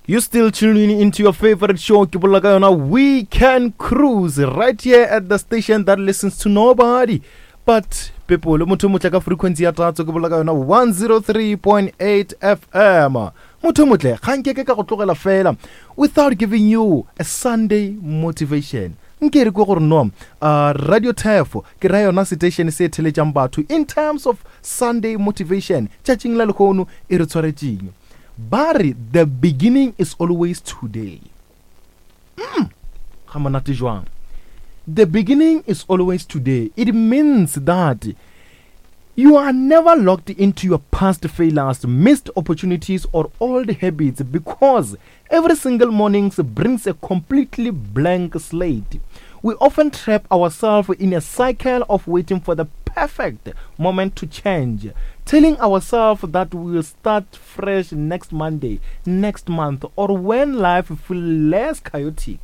You still tuning into your favorite show, ke bolela ka yona Weekend Cruise, right here at the station that listens to nobody but people. Motho motle ka frequency ya tatso, ke bolela ka yona 103.8 FM. Motho motle, ga nke ke ka go tlogela fela without giving you a Sunday motivation. Nke re kwe gore no, Radio Turf, ke ra yona station se theletšang batho in terms of Sunday motivation, tšatšing la lehono e re tshwaretšeng. Ba re the beginning is always today. Ga monate jwang? The beginning is always today. It means that you are never locked into your past failures, missed opportunities, or old habits, because every single morning brings a completely blank slate. We often trap ourselves in a cycle of waiting for the perfect moment to change, telling ourselves that we will start fresh next Monday, next month, or when life feels less chaotic.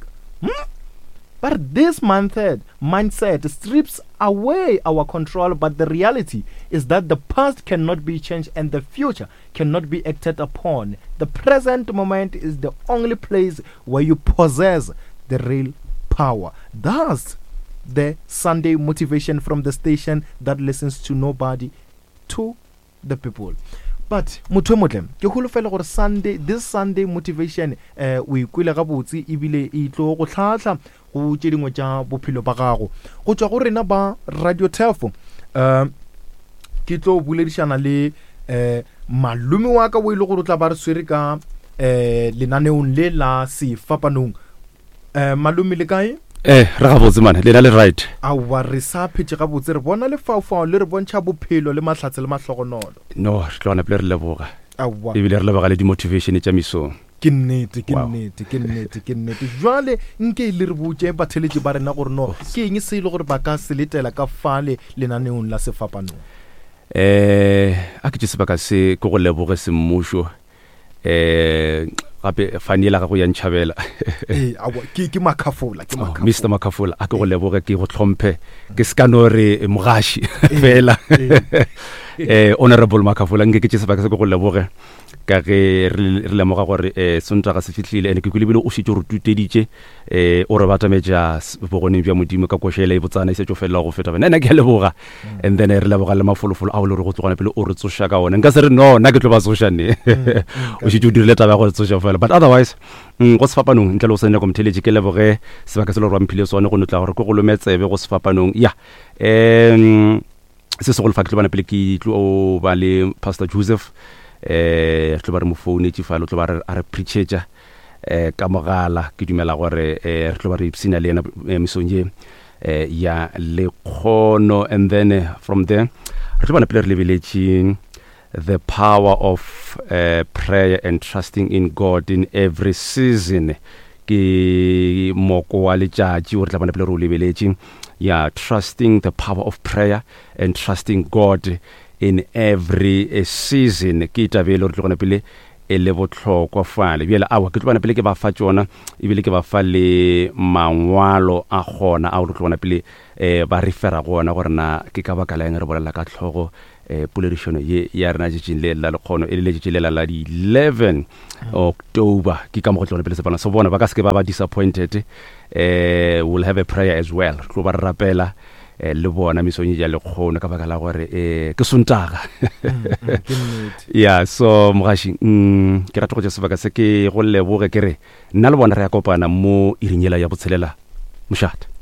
But this mindset strips away our control, but the reality is that the past cannot be changed and the future cannot be acted upon. The present moment is the only place where you possess the real power. Thus, the Sunday motivation from the station that listens to nobody, to the people. But motho e motle, ke holofela gore Sunday, this Sunday motivation, o ikwele gabotse ebile e tlo go tlhahla go tše dingwe tša bophelo ba gago. Go tšwa go rena ba Radio Turf, ke tlo boledišana le malome wa ka o e le gore o tla ba re swere ka lenaneong le la sefapanong. Malome, le kae? Re gabotse mane, lena le right? Aowa, re sa phetše gabotse, re bona lefaufau le re bontšha bophelo le mahlatse le mahlogonolo. No, re tlo gona pele re leboga. Aowa. Ebile re leboga le di-motivation tša mesong. Ke nnete, ke nnete, ke nnete, ke nnete. Jwale nke le re botše batheletši ba rena gore no ke eng se e le gore ba ka se letela ka fale lenaneong la sefapanong. A ke tše sebaka se ke go leboge semmušo. Gape fane yela gago ya ntšhabela. Ee, aowa, ke Makhafola, ke Oh, Makhafola. Mister Makhafola, a ke go leboge, ke go hlomphe, ke se ka no re mogaši fela. Honorable Makhafola, nke ke tše sebaka se ke go leboge ka ge re lemoga gore Sontaga se fihlile, ene ke kwele ebile o šetše o re tuteditše, o re batametša bogoneng bja Modimo ka koša ela e botsana e šetše o felela go feta. Nna ke a leboga. And then re leboga le mafolofolo ao le gore go tlogana pele o re tsoša ka ona. Nka se re no, nna ke tlo ba tsoša ne. O šetše o dirile taba ya go re tsoša fela. But otherwise, go sefapanong, ntle le go senya nako motheeletši, ke leboge sebaka se le gore wa mphile sone go no tla gore ke go lome tsebe go sefapanong. Ya, se segolo fa ke tlo bana pele ke tlo ba le Pastor Joseph, re tlo ba re mo founetše fale, o tlo ba a re preachetša ka mogala. Ke dumela gore re tlo ba re ipsina le yena mesong ye ya lekgono. And then from there re tlo bana pele re lebeletše the power of prayer and trusting in God in every season. Ke moko wa letšatši o re tla bona pele re o lebeletše, ya trusting the power of prayer and trusting God in every season. Ke taba e le gore tlo gona pele e le bohlokwa fale. Bjale aowa, ke tlo bona pele ke ba fa tšona, ebile ke ba fa le mangwalo a gona ao re tlo bona pele ba refera go ona gore na ke ka baka la eng re bolela ka tlhogo poledišano ye ya rena tšatšing le la lekgono, e le letšatši lela la di 11 October. Ke ka mo go tlo bona pele sepana so bona ba ka se ke ba ba disappointed. We'll have a prayer as well, re tlo ba re rapela le bona mesong ya lekgono ka baka la gore ke Sontaga. Ya so mogaši, ke rata go tša sebaka se ke go leboge, ke re nna le bona re ya kopana mo iring yela ya botshelela mošate.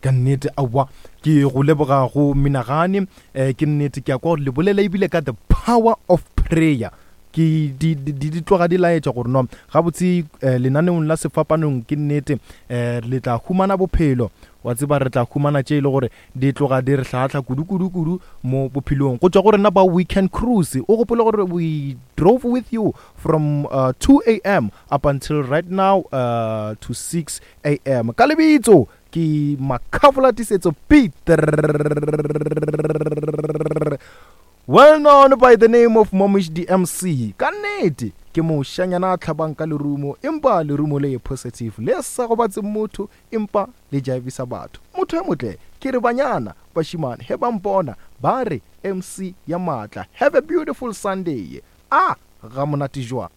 Ka nnete, aowa, ke go leboga go menagane. Ke nnete, ke ya kwa gore le bolela ebile ka the power of prayer. Ke di, di, di, di tloga di laetša gore no gabotse lenaneong la sefapanong ke nnete, le tla humana bophelo. Wa tseba, re tla humana tše e le gore di tloga di re hlahla kudu, kudu, kudu mo bophelong. Go tšwa go rena ba Weekend Cruise, o gopole gore we drove with you from 2 A M up until right now to 6 A M. Ka lebitso ke Makhafola Tiisetso Peter, well known by the name of Momish the MC. Ka nnete ke mošanyana a tlhabang ka lerumo, empa lerumo le positive le sa gobatse motho, empa le jaivisa batho. Motho e motle ke re banyana bashimane he ba mpona ba re MC ya maatla. Have a beautiful Sunday. A ga monate jwang.